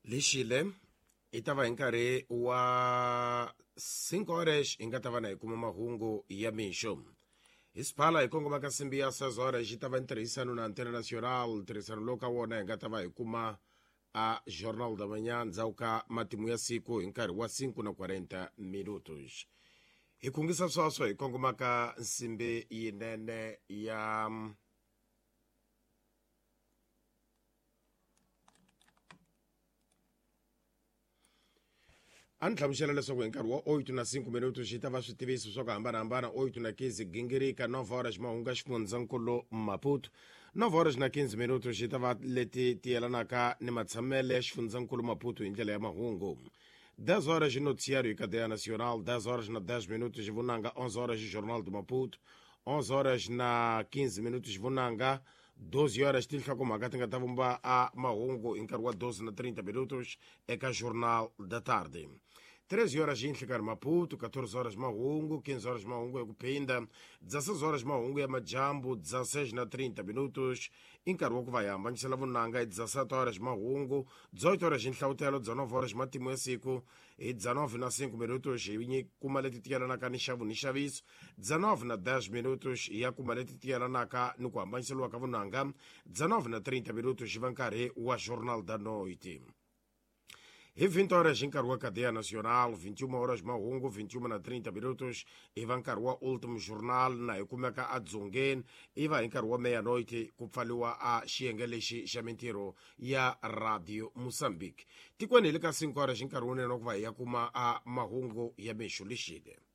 Lexile i ta va hi nkarhi wa 5 horas hi nga ta va na hi kuma mahungu ya mixo. Hi siphala hi kongoma ka nsimbi ya 6 horas yi ta va ntirhisano na Antena Nacional. Ntirhisano lowu ka wona hi nga ta va hi kuma a Jornal da Manhã ndzhaku ka matimu ya siku hi nkarhi wa 5 na 40 minutos. Hi khungisa sweswo hi kongoma ka nsimbi yinene ya A ni hlamusela leswaku hi nkarhi wa 8 na 5 minuto xi ta va switiviso swa ku hambanahambana. 8 na 15 gingirika, 9 horas mahungu ya xifundzankulu Maputo. 9 horas na 15 minuto xi ta va leti ti yelanaka ni matshamele ya xifundzankulu Maputo hi ndlela ya mahungu. 10 horas noticiário e cadeia nacional. 10 horas na 10 minutos vunanga. 11 horas jornal do Maputo. 11 horas na 15 minutos vunanga. 12 horas tinhlokomhaka ti nga ta vumba a mahungu hi nkarhi wa 12 na 30 minutos eka Jornal da Tarde. 13 horas yinhlikani Maputo, 14 horas mahungu, 15 horas mahungu ya ku phinda, 16 horas mahungu ya majambu, 16 na 30 minutos i nkarhi wa ku va hi hambanyisela vunanga hi 17 horas mahungu, 18 horas nhlavutelo, 19 horas matimu ya siku. Hi 19 na 5 minutos hi kuma leti ti yelanaka ni nxavo ni nxaviso. 19 na 10 minutos hi ya kuma leti ti yelanaka ni ku hambanyiseriwa ka vunanga. 19 na 30 minutos va nkarhi wa Jornal da Noite. Hi 20 horas hi nkarhi wa Cadeia Nacional, 21 horas mahungu, 21 na 30 minutos i va nkarhi wa Último Jornal na hi kumeka edzongeni. I va hi nkarhi wa meia-noite ku pfaliwa a xiyenge lexi xa mintirho ya Radio Mozambique tikweni. Hi le ka 5 horas hi nkarhi wunene wa ku va hi ya kuma a mahungu ya mixo lexile.